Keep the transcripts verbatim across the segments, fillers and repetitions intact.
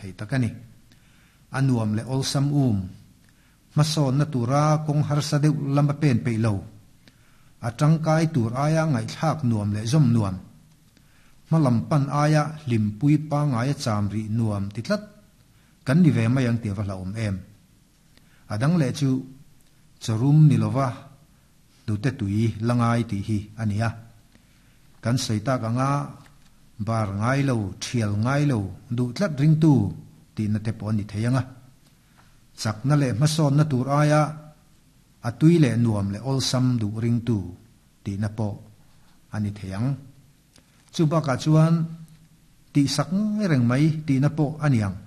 thei tak a ni. A nuam leh awlsam um, hmasawnna tura kawng harsa deuh lama pen peih lo, a tangkai tur aia ngaihthlak nuam leh zawm nuam, hmalam pan aia hlimpui pangaia cham rih nuam ti tlat kan ni ve mai ang tih a va hlauhawm em. A dang leh chu chawrum ni lova hnute tui la ngai tih hi a ni a. Kan sawi tak anga bar ngai lo, thial ngai lo, duh tlat ringtu tihna te pawh a ni thei ang a. Chakna leh hmasawnna tur aia a tui leh nuam leh awlsam duh ringtu tihna pawh a ni thei ang. Chu bakah chuan tihsak ngai reng mai tihna pawh a ni ang.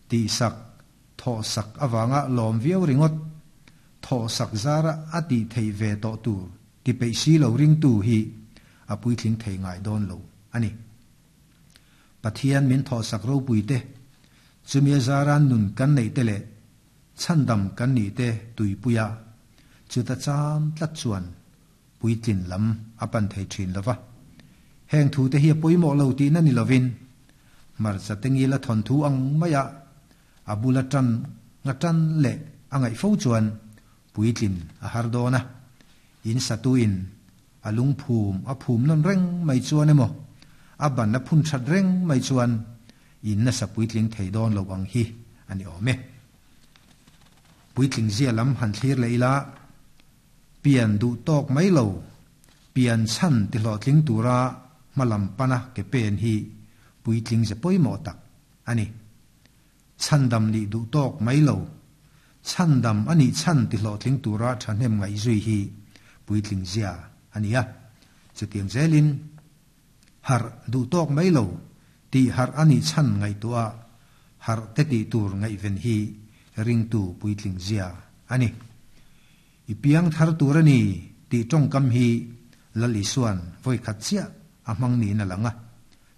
Tihsak, thawhsak avanga lawm viau ringawt, thawhsak zara a tih theih ve tawh tur ti peih si lo ringtu hi a puitling thei ngai dawn lo a ni. Pathian min thawhsak ropui te, chumi a zara nun kan neih te leh chhandam kan nih te tuipuia chuta cham tlat chuan puitlin lam a pan thei thin lo va. Heng thu te hi a pawimawh lo tihna ni lovin hmarcha te ngila thawnthu ang maia a bula tan nga tan leh a ngaih fo chuan puitlin a har dawn a. In satuin a lungphum a phum nawn reng mai chuan emaw a ban a phun that reng mai chuan in nasa puitling thei dawn lo ang hi a ni awm e. Puitling zia lam han thlir leh ila, pian duh tawk mai lo, pian chhan ti hlawhtling tura hmalam pana ke pen hi puitling ze pawimawh tak a ni. Chhandam nih duh tawk mai lo, chhandam a nih chhan ti hlawhtling tura thahnem ngaih zui hi puitling zia a ni a. Chutiang zelin harh duh tawk mai lo, tih harh a nih chhan ngaihtuah harh te tih tur ngaihven hi ringtu puitling zia a ni. I piang thar tur a ni tih tawngkam hi Lal Isuan vawi khat chiah a hmang niin a lang a.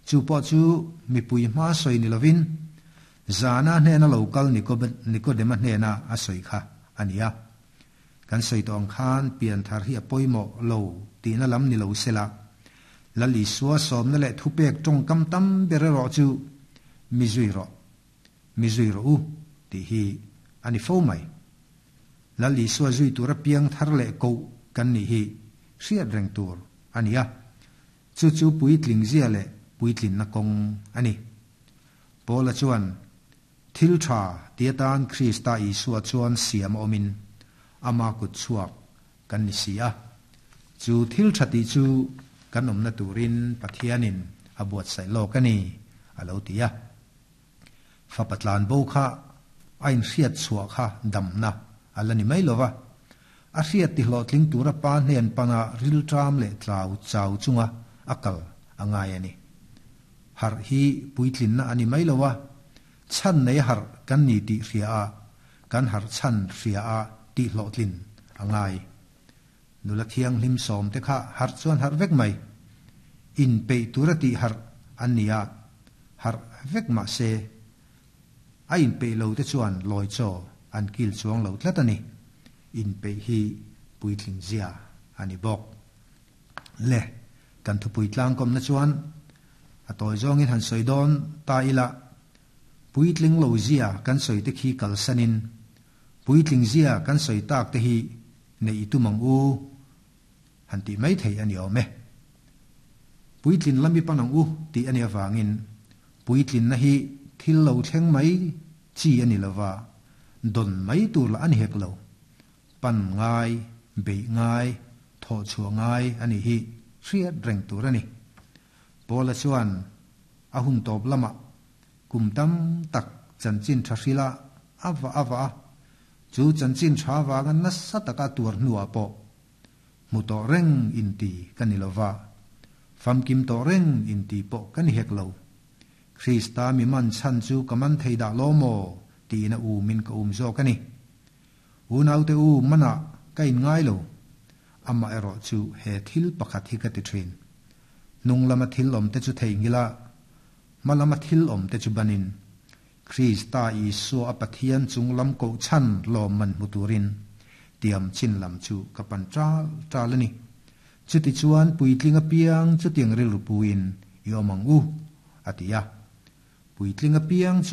Chu pawh chu mipui hma sawi ni lovin zana hnena lo kal Nikodema hnena a sawi kha a ni a. Kan sawi tawh ang khan pian thar hi a pawimawh lo tihna lam ni lo sela, Lal Isua sawmna leh thupek tawngkam tam ber erawh chu mi zui rawh, mi zui rawh u tih hi a ni fo mai. Lal Isua zui tura piang thar leh koh kan nih hi hriat reng tur a ni a. Chu chu puitling zia leh puitlinna kawng a ni. Paula chuan thil tha ti atan Krista Isua chuan siam a awmin ama kut chhuak kan ni si a. Chu thil tha tih chu kan awmna turin Pathianin a buatsaih lawk a ni a lo ti a. Fapa tlan bo kha a inhriat chhuah kha damna a la ni mai lova. A hriat ti hlawhtling tura pa hnen pana rilṭam leh tlau chau chunga a kal a ngai a ni. Harh hi puitlinna a ni mai lova, chhan nei harh kan ni tih hria a, kan harh chhan hria a tih hlawhtlin a ngai. Nula thianghlim sawm te kha harh chuan harh vek mai. Inpeih tura tih harh an ni a, harh vek mah se a inpeih lo te chuan lawi chaw an kil chuang lo tlat a ni. Inpeih hi puitling zia a ni bawk. Le, kan thupui tlangkawmna chuan a tawi zawngin han sawi dawn ta ila, puitling lo zia kan sawi te khi kalsanin puitling zia kan sawi tak te hi neih i tum ang u han tih mai thei a ni awm e. Puitlin lami pan ang u tih a ni avangin puitlinna hi thil lo thleng mai chi a ni lova, dawn mai tur lah a ni hek lo. Pan ngai, beih ngai, thawh chhuah ngai a nih hi hriat reng tur a ni. Paula chuan a hun tawp lamah kum tam tak chanchin tha hrila a va a va a, chu chanchin tha avanga nasa taka tuar hnuah pawh hmu tawh reng inti ka ni lova, famkim tawh reng inti pawh ka ni hek lo. Krista mi man chhan chu ka man thei dah lo maw tiin a umin ka um zawk a ni. Unaute u manah ka inngai lo, amah erawh chu he thil pakhat hi ka ti thin. Hnung lama thil awm te chu theihnghilh a, hma lama thil awm te chu banin Krista Isua a Pathian chung lam koh chhan lawm man hmu turin tiam chin lam chu ka pan ṭal ṭal a ni. Chutichuan puitling apiang chutiang rilru puin i awm ang u, a ti a. Puitling apiang chu